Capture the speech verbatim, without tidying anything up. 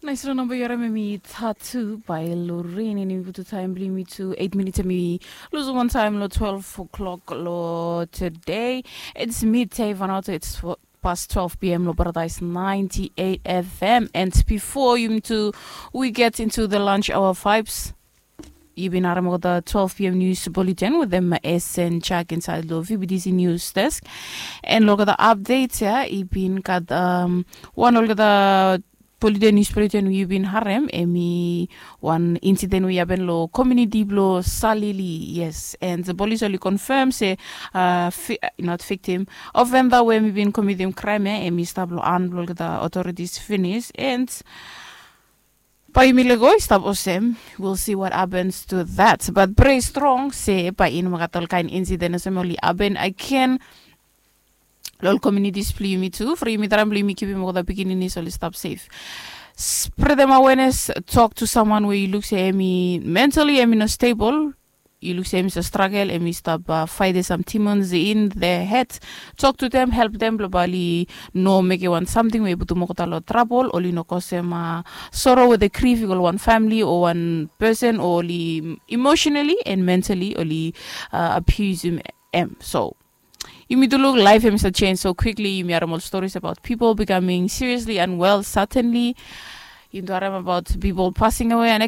Nais long namba yu harim em i Tattoo by Lorraine, and yumi putum taem blong yumi tu eight minutes, em i losing wan taem long twelve o'clock long today. It's midday, Vanuatu. It's past twelve p.m. long Paradise ninety-eight F M. And before yumi tu, we get into the lunch hour vibes. Yu bin harim olgeta twelve p.m. news bulletin with them S and Jack inside long V B T C news desk. And olgeta updates ya, i bin gat um, wan olgeta bulletin, news bulletin we yu bin harim, em i wan incident we i happen long community blong Salili. Yes, and the police only confirm say uh, fi, not victim, offender we em i bin committing crime ya, em i stap long hand blong olgeta authorities finish. And bae yumi lego i stap olsem. We'll see what happens to that, but pray strong se bae i no mekem ol kaen incident olsem oli happen again. Long ol communities blong yumi tu, from yumi traem blong yumi kipim olgeta pikinini oli stap safe. Spread them awareness. Talk to someone we yu luk se em i mentally em i no stable. Yu luk se em i stap struggle, em i stap uh, fight some demons in their head. Talk to them, help them blong bae oli no mekem wan samting we i putum olgeta long trouble, oli no kosem uh, sorrow with the grief i go long wan family o wan person, o oli emotionally and mentally oli uh, abuse em. So yumi tu luk life em i start change so quickly. Yumi harim ol stories about people becoming seriously unwell suddenly. Yumi tu harim about people passing away and